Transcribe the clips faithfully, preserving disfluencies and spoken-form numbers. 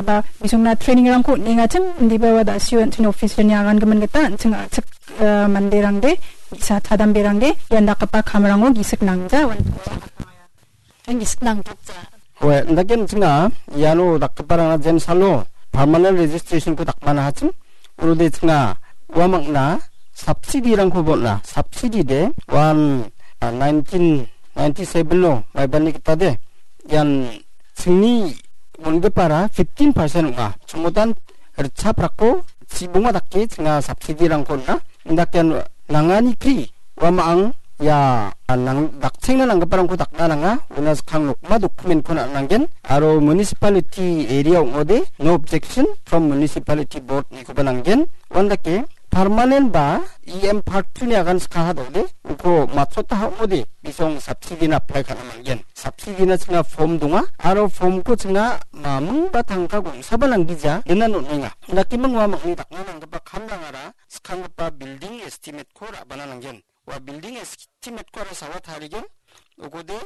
ba bisongna training-rangko on·engachim, indiba ua da·sio an·ching officer-ni agangimin gita an·ching a·chik, eh, manderangde, bi·sa chadamberangde, ian dakgipa kamrango gisik nangja, wan-, an gisik nangja. Oe, indake an·chinga iano dakgiparangna jensalo permanent registration-ko dakmana hachim, unode chinga ua mangna subsidy-rangko bon·a, subsidy de, wan, ah, nineteen ninety-seven-o maibani gita de, ian chingni on·gipara fifteen percent ong·a. Chongotan ritchaprakko chibonga dake chinga subsidy-rangko on·a. Indake ian nangani kri, uamang ia nang-, dakchengna nanggiparangko dakna nanga. Una skang nokma document-ko na nanggen. Aro municipality area ong·ode, no objection from municipality board-nikoba nanggen. Uandake permanent ba E M part two-ni agan skaha dode, uko matchota ha ong·ode, bisong subsidy-na apply ka·na man·gen. Subsidy-na chinga form donga, aro form-ko chinga maming ba tangka gongsaba nanggija, dena on·enga. Indakeming uamangni dakna nanggipa kamrangara skanggipa building estimate-ko ra·bana nanggen. Ua building estimate-ko aro sawa tarigen, ukode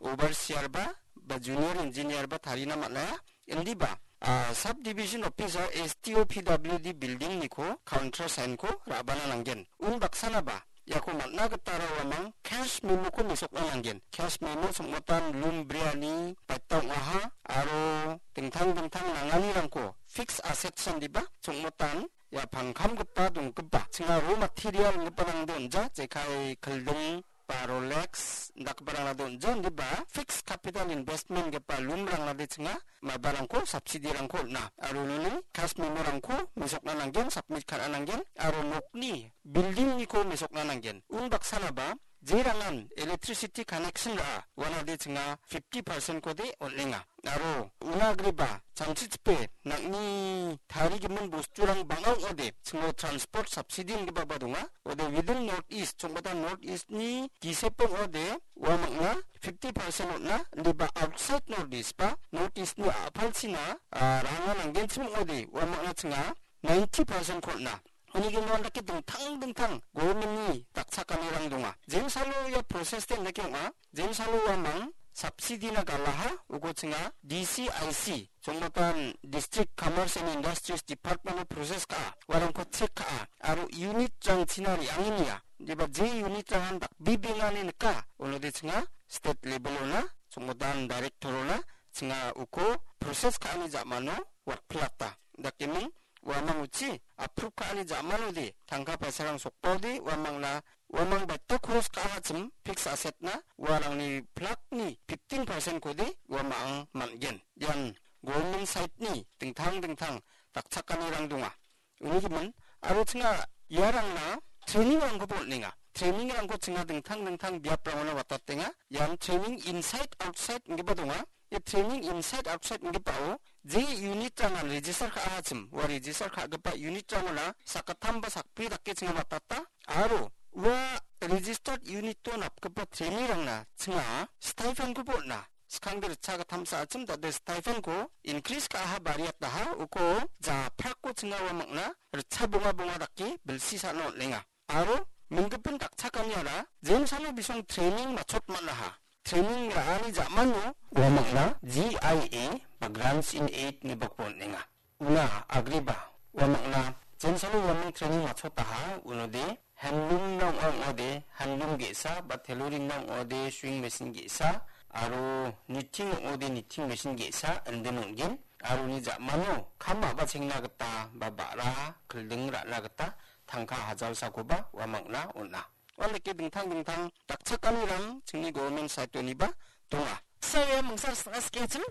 overseer ba, ba junior engineer ba tarina man·a. Indiba, ah, subdivision office-o S D O P W D building-niko counter sign-ko ra·bana nanggen. Unbaksanaba, iako man·a gitara uamang cash memo-ko mesokna nanggen. Cash memo songmotan loom briani baita ong·aha, aro dingtang dingtang nanganirangko fixed assets indiba songmotan ia pangkamgipa donggipa, chinga raw material inggiparangde on·ja, jekai kilding ba Rolex indakgiparangna de on·ja, indiba fixed capital investment gipa loom-rangnade chinga maibarangko subsidy-rangko on·a. Aro unoni cash memo-rangko mesokna nanggen, submit ka·na nanggen, aro nokni building-niko mesokna nanggen. Unbaksanaba jerangan electricity connection ra·a, uanade chinga fifty percent-kode on·enga. Aro una agreba chanchichipe nang·ni tarigimin bosturang bang·a ong·ode, chingo transport subsidy inggipaba donga. Ode within North East, chongmata North East-ni gisep ong·ode, uamangna fifty percent on·a, indiba outside North East ba North East-ni a·palchina, ah, ranga nanggenchim ong·ode, uamangna chinga ninety percent-ko on·a. Uni gimin dake dingtang dingtang government-ni dakchakanirang donga. Jensalo ia process-de indake ong·a. Jensalo uamang subsidy-na galaha, uko chinga D C I C, chongmatan District Commerce and Industries Department-o process ka·a, uarangko check ka·a, aro unit-rangchina re·angenia. Indiba je unit-rangan dakbibengani nika, unode chinga state level-ona, chongmatan director-ona, chinga uko process ka·ani ja·mano watpilata. Dakeming uamang uchi approve ka·ani ja·manode tangka paisarang sokbaode uamangna, uamang baita koros ka·achim fix asset-na uarangni plak-ni fifteen percent-kode uamang man·gen. Ian government side-ni dingtang dingtang dakchakanirang donga. Uni gimin, aro chinga iarangna training-rangkoba on·enga. Training-rangko chinga dingtang dingtang biaprangona watatenga. Ian training inside outside inggipa donga. Ia training inside outside inggipao je unit-rangan register ka·achim, ua register ka·gipa unit-rangona sakgittam ba sakbri dake chinga matata, aro ua registered unit-o napgipa trainee-rangna chinga stipend-koba on·a. Skangde ritchagittamsa achim dade stipend-ko increase ka·aha bariataha uko japrakko chinga ua mangna ritcha bonga bonga dake bilsi sa·na on·enga. Aro minggipin dakchakaniara jensalo bisong training matchot man·aha. Training ra·ani ja·mano uamangna G I A ba Grants in Aid ineba on·enga. Una agreba uamangna jensalo uamang training matchotaha unode handloom-na ong·a ong·ode handloom ge·sa ba tailoring-na ong·ode sewing machine ge·sa aro knitting ong·ode knitting machine ge·sa indin on·gen. Aro uni ja·mano kam a·bachengna gita ba ba·ra kilding ra·na gita tangka hajalsakoba uamangna on·a. Uandake dingtang dingtang dakchakanirang chingni government side-oniba donga. Saria mungsar sing·a skechim,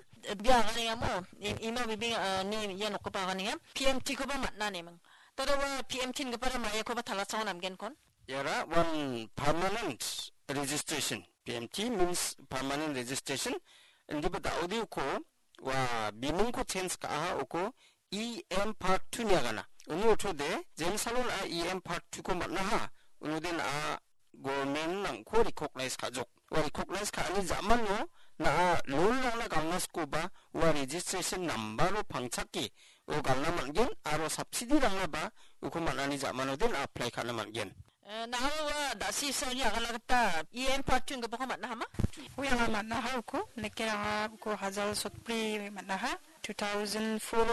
bia aganengamo, im-, ima bibing, ah, ni ia nokgipa aganenga, P M T-koba man·a neming. Tada ua P M T ingipara maiakoba talachao namgenkon. Iara one permanent registration. P M T means permanent registration. Indiba da·ode uko ua bimungko change ka·aha uko E M part two-ni agana. Uni ortode, jensalo na·a E M part two-ko man·aha. Unode na·a government nangko recognize ka·jok. Ua recognize ka·ani ja·mano na·a loan-rangna galna sikoba ua registration number-o pangchake o galna man·gen aro subsidy-rangnaba uko man·ani ja·manode na·a apply ka·na man·gen. Eh, na·a ua da·si saoni agana gita E M part two inggipako man·ahama? Ui anga man·aha uko, neke anga uko hajal sotbri man·aha, two thousand four